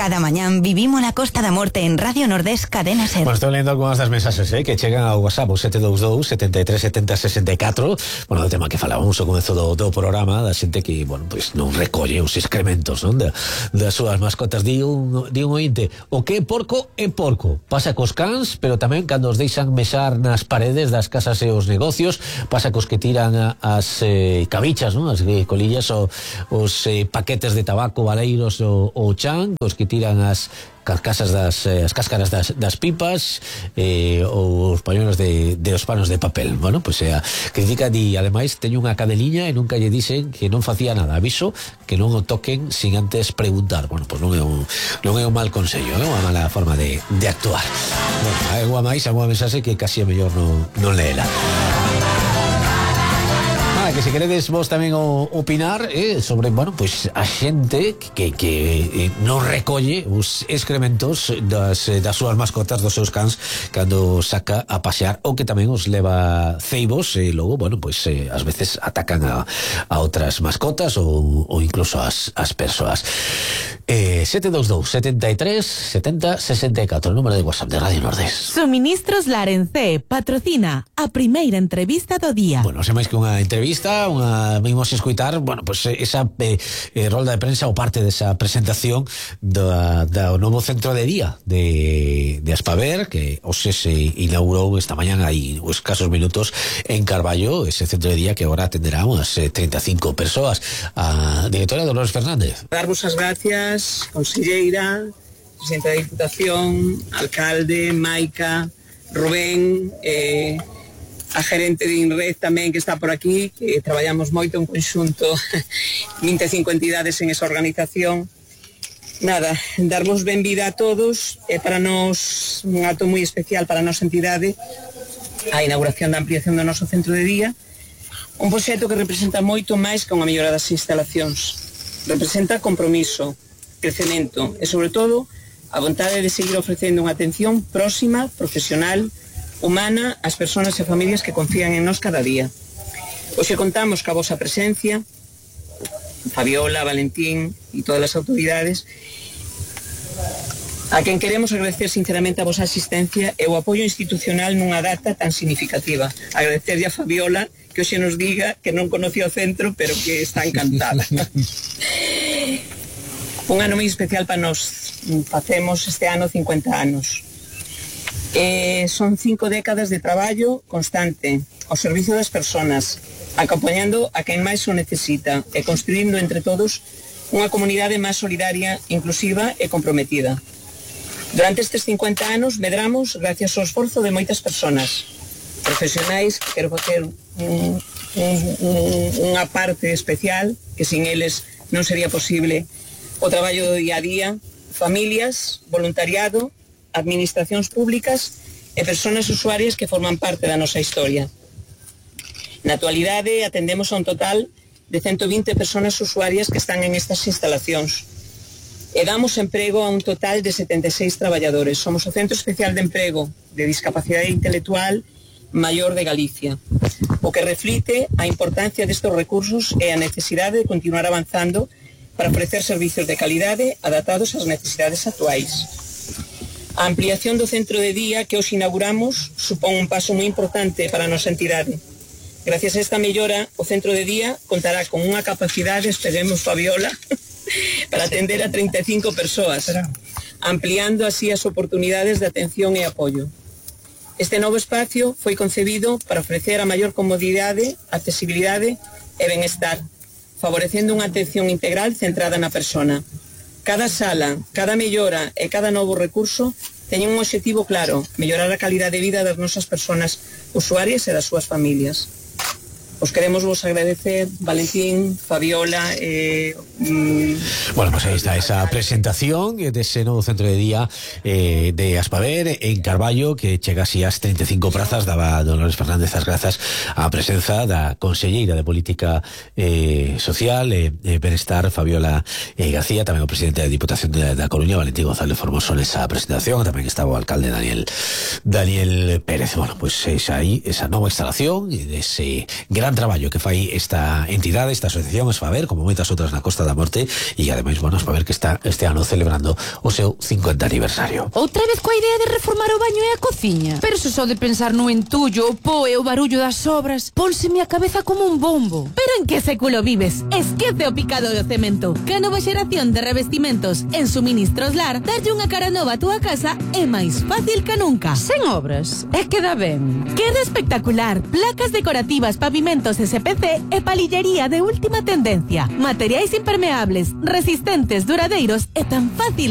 Cada mañán vivimos la Costa da Morte en Radio Nordés Cadena Ser. Bueno, estou lendo algunhas das mensaxes que chegan ao WhatsApp, o 722 73 70 64. Bueno, do tema que falábamos ao comezo do programa, da xente que, bueno, pois non recolle os excrementos, non, das súas mascotas. Di un ointe, o que é porco, pasa cos cans, pero tamén cando os deixan mesar nas paredes das casas e os negocios, pasa cos que tiran as cabichas, non, as colillas, os paquetes de tabaco, valeiros ou chan, os que tiran as carcasas as cáscaras das pipas, ou os pañuelos de os panos de papel. Bueno, pois critica, di, ademais teño unha cadeliña e nunca lle dixen que non facía nada, aviso que non o toquen sin antes preguntar. Bueno, pois non é un mal consello, é unha mala forma de actuar. Bueno, hai unha mensaxe que casi é mellor non leela. Que se queredes vos tamén opinar sobre, bueno, pois a xente que non recolle os excrementos das súas mascotas, dos seus cans, cando saca a pasear, ou que tamén os leva ceibos e logo, bueno, pois ás veces atacan a outras mascotas ou incluso as persoas. 722 73 70 64, o número de WhatsApp de Radio Nordés. Suministros Larencé patrocina a primeira entrevista do día. Bueno, se máis que unha entrevista, vimos escoitar, bueno, pues esa rolda de prensa ou parte desa presentación do novo centro de día de Aspaver, que hoxe se inaugurou esta mañán, hai escasos minutos, en Carballo, ese centro de día que agora atenderá unas 35 persoas. A directora Dolores Fernández. Darvos as gracias, conselleira, presidenta da Diputación, alcalde, Maica, Rubén, a gerente de INRED tamén que está por aquí, que traballamos moito en conxunto, 25 entidades en esa organización. Nada, darvos benvida a todos, é para nós un acto moi especial para a nosa entidade, a inauguración da ampliación do noso centro de día, un proxecto que representa moito máis que unha mellora das instalacións. Representa compromiso, crecemento e, sobre todo, a vontade de seguir ofrecendo unha atención próxima, profesional, humana ás persoas e familias que confían en nós cada día. Hoxe contamos ca vosa presencia, Fabiola, Valentín e todas as autoridades, a quen queremos agradecer sinceramente a vosa asistencia e o apoio institucional nunha data tan significativa. Agradecerlle a Fabiola que hoxe nos diga que non conocía o centro, pero que está encantada. Un ano moi especial para nós. Facemos este ano 50 anos. Son 5 décadas de traballo constante ao servizo das persoas, acompañando a quen máis o necesita e construindo entre todos unha comunidade máis solidaria, inclusiva e comprometida. Durante estes 50 anos medramos gracias ao esforzo de moitas persoas, profesionais, que quero facer unha parte especial, que sin eles non sería posible o traballo do día a día, familias, voluntariado, administracións públicas e persoas usuarias que forman parte da nosa historia. Na actualidade atendemos a un total de 120 persoas usuarias que están en estas instalacións e damos emprego a un total de 76 traballadores. Somos o Centro Especial de Emprego de Discapacidade Intelectual maior de Galicia, o que reflite a importancia destes recursos e a necesidade de continuar avanzando para ofrecer servicios de calidade adaptados ás necesidades actuais. A ampliación do centro de día que hoxe inauguramos supón un paso moi importante para a nosa entidade. Gracias a esta mellora, o centro de día contará con unha capacidade, esperemos, Fabiola, para atender a 35 persoas, ampliando así as oportunidades de atención e apoio. Este novo espacio foi concebido para ofrecer a maior comodidade, accesibilidade e benestar, favorecendo unha atención integral centrada na persona. Cada sala, cada mellora e cada novo recurso teñen un obxectivo claro: mellorar a calidade de vida das nosas persoas usuarias e das súas familias. Os queremos vos agradecer, Valentín, Fabiola. Bueno, pues ahí está esa presentación de ese novo centro de día de Aspaver en Carballo, que chega así ás 35 prazas. Daba Dolores Fernández as grazas á presenza da conselleira de Política Social e Benestar, Fabiola García, tamén o presidente da Diputación da Coruña, Valentín González Formoso, nesa presentación. Tamén estaba o alcalde Daniel Pérez. Bueno, pues esa nova instalación e ese gran gran traballo que fai esta entidade, esta asociación, es para ver, como moitas outras na Costa da Morte, e ademais, bueno, es para ver que está este ano celebrando o seu 50 aniversario. Outra vez coa idea de reformar o baño e a cociña. Pero se só de pensar no entullo, o po e o barullo das obras, pónseme a cabeza como un bombo. Pero en que século vives? Esquece o picado do cemento. Que a nova xeración de revestimentos en Suministros Lar darlle unha cara nova a túa casa é máis fácil que nunca. Sen obras, é que dá ben. Queda espectacular. Placas decorativas, pavimentos SPC e palillería de última tendencia. Materiais impermeables, resistentes, duradeiros e tan fáciles